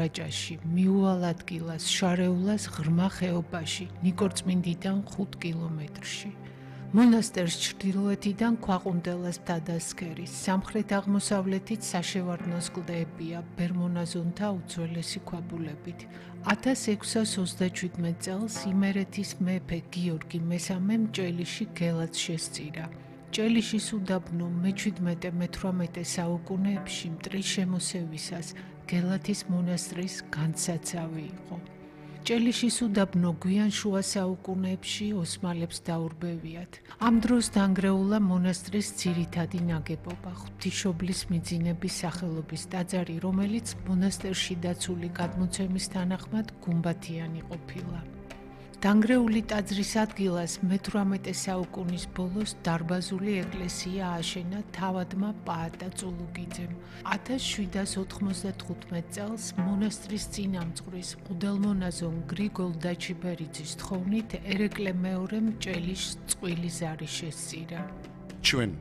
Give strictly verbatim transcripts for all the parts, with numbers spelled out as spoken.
რაჭაში, მიუვალ ადგილას, შარეულას ღრმა ხეობაში, ნიკორწმინდიდან ხუთ კილომეტრში. მონასტერს ჩრდილოეთიდან ქვაყუნდელას მთადასქერის, სამხრეთ-აღმოსავლეთით საშევარდნოს კლდეებია ბერმონაზონთა უძველესი ქვაბულებით. ათას ექვსას ოცდაჩვიდმეტ წელს იმერეთის მეფე გიორგი მესამემ ჭელიში გელაც შესწირა. ჭელიშის უდაბნო მეჩვიდმეტე მეთვრამეტე საუკუნეებში მტრის შემოსევისას გელათის მონასტრის განსაცავი იყო. ჭელიშის უდაბნო გვიან შუა საუკუნეებში ოსმალებს დაურბევიათ. ამ დროს დანგრეულა მონასტრის ძირითადი ნაგებობა, ღვთისმშობლის მიძინების სახელობის ტაძარი, რომელიც მონასტერში დაცული გადმოცემის თანახმად გუმბათიანი ყოფილა. დანგრეული ტაძრის ადგილას მეთვრამეტე საუკუნის ბოლოს დარბაზული ეკლესია ააშენა თავადმა პაატა წულუგიძემ. ათას შვიდას ოთხმოცდათხუთმეტ წელს მონასტრის წინამძღვრის მღვდელმონაზონ გრიგოლ დაჩიბერიძის თხოვნით ერეკლე მეორემ ჭელიშს წყვილი ზარი შესწირა. ჩვენ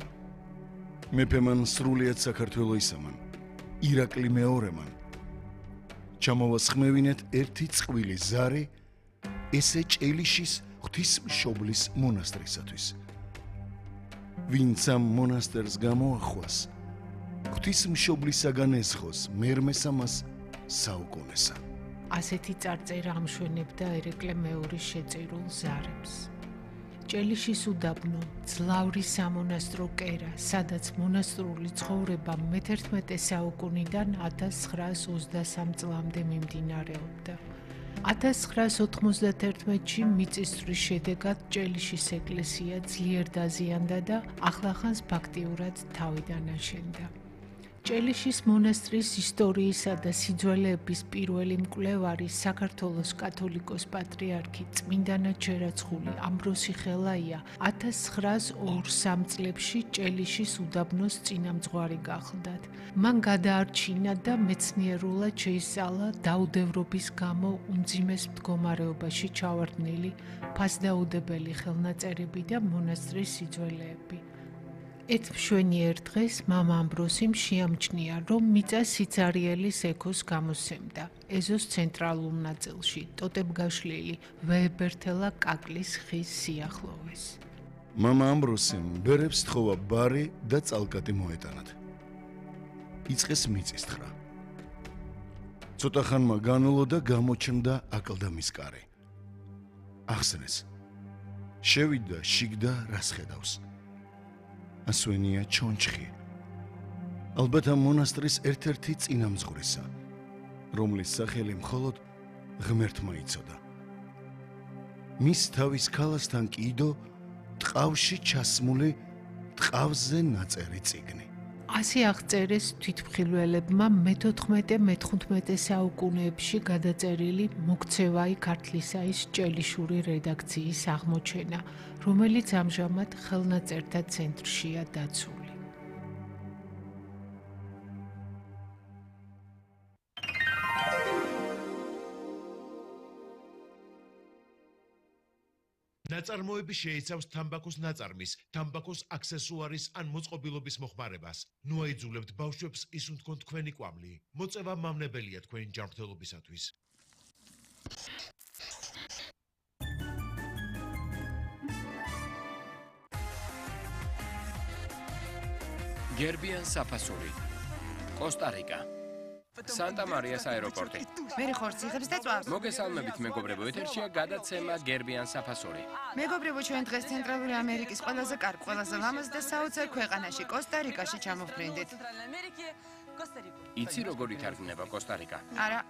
მეფემან სრულიად საქართველო ისამან, ირაკლი მეორემან ჩამოვასხმევინეთ ერთი წყვილი ზარი ესე ჭელიშის ღვთისმშობლის მონასტრისათვის. ვინც ამ მონასტერს გამოახვას, ღვთისმშობლისაგან ეზღოს მერმესამას საუკუნესა. ასეთი წარწერა ამშვენებდა ერეკლე მეორის შეწირულ ზარებს. ჭელიშის უდაბნო, ძლავრი სამონასტრო კერა, სადაც მონასტრული ცხოვრება მეთერთმეტე საუკუნიდან ათას ცხრაას ოცდასამ წლამდე მიმდინარეობდა. ათას ცხრაას ოთხმოცდაერთმეტში მიწისძვრის შედეგად ჭელიშის ეკლესია ძლიერ დაზიანდა და ახლახანს ფაქტიურად თავიდან აშენდა. ჭელიშის მონასტრის ისტორიისა და სიძველეების პირველი მკვლევარი საქართველოს კათოლიკოს პატრიარქი წმინდანა ჩერაცხული ამბროსი ხელაია ათას ცხრაას ორმოცდასამ წლებში ჭელიშის უდაბნოს წინამძღვარი გახლდათ. მან გადაარჩინა და მეცნიერულად შეისწავლა დაუდევრობის გამო უმძიმეს მდგომარეობაში ჩავარდნილი ფასდაუდებელი ხელნაწერები და მონასტრის სიძველეები. ერთ მშვენიერ დღეს მამა ამბროსიმ შეამჩნია, რომ მიწა სიცარიელის ექოს გამოსცემდა. ეზოს ცენტრალურ ნაწილში, ტოტებგაშლილი ვეებერთელა კაკლის ხის სიახლოვეს. მამა ამბროსიმ ბერებს თხოვა ბარი და წალკატი მოეტანათ. იწყეს მიწისძვრა. ცოტა ხანმა განულო და გამოჩნდა აკლდამის კარი. ახსენეს. შევიდა შიგდა რას ხედავს. ასვენია ჩონჩხი. ალბათ ამ მონასტრის ერთ-ერთი წინამძღვრისა, რომლის სახელი მხოლოდ ღმერთმა იცოდა. მის თავის ქალასთან კიდო ტყავში ჩასმული ტყავზე ნაწერი წიგნი. ასე აღწერეს თვითმხილველებმა მეთოთხმეტე მეთხუთმეტე საუკუნეებში გადაწერილი მოქცევაი ქართლისაის ჭელიშური რედაქციის აღმოჩენა, რომელიც ამჟამად ხელნაწერთა ცენტრშია დაცული. ნაწარმოები შეიცავს თამბაქოს ნაწარმის, თამბაქოს აქსესუარის ან მოწყობილობის მოხმარებას. ნუ აიძულებთ ბავშვებს ისუნ თქვენ თქვენი კვამლი. მოწევა მავნებელია თქვენი ჯანმრთელობისათვის. გერბიან საფასური, კოსტა-რიკა. სანტა მარიას აეროპორტი. მე ხორცი იღებს და წვავს. მოგესალმებით მეგობრებო, ეთერშია გადაცემა გერბიან საფასური. მეგობრებო, ჩვენ დღეს ცენტრალური ამერიკის ყველაზე კარგ, ყველაზე ლამაზ და საოცარ ქვეყანაში, კოსტა-რიკაში ჩამოვფრინდით. იცი როგორ ითარგმნება კოსტა-რიკა? არა.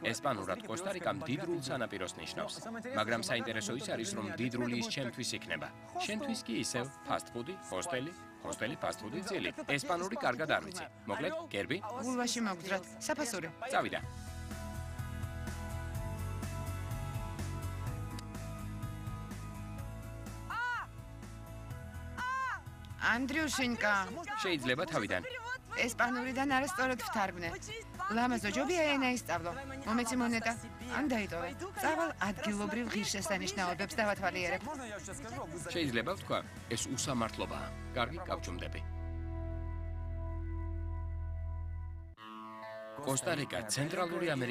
ესპანურად კოსტა-რიკა მდიდრულ სანაპიროს ნიშნავს, მაგრამ საინტერესო ის არის, რომ მდიდრული ის ჩემთვის იქნება. შენთვის კი ისევ ფასტ-ფუდი, ჰოსტელი, ჰოსტელი, ფასტ-ფუდი ძილი. ესპანური კარგად არ ვიცი. მოკლედ, გერბი? გულვაში მოგძრათ. საფასური. წავიდა. ანდრიუშინკა. შეიძლება თავიდან. ესპანურიდან არასწორად ვთარგმნე. ლამაზო ჯობია ენა ისწავლო. მომეცი მონეტა. ან დაიტოვე. წავალ ადგილობრივ ღირსშესანიშნაობებს დავათვალიერებ. შეიძლება ვთქვა, ეს უსამართლობაა. კარგი, გავჩუმდები. კოსტა-რიკა ცენტრალური ამერიკის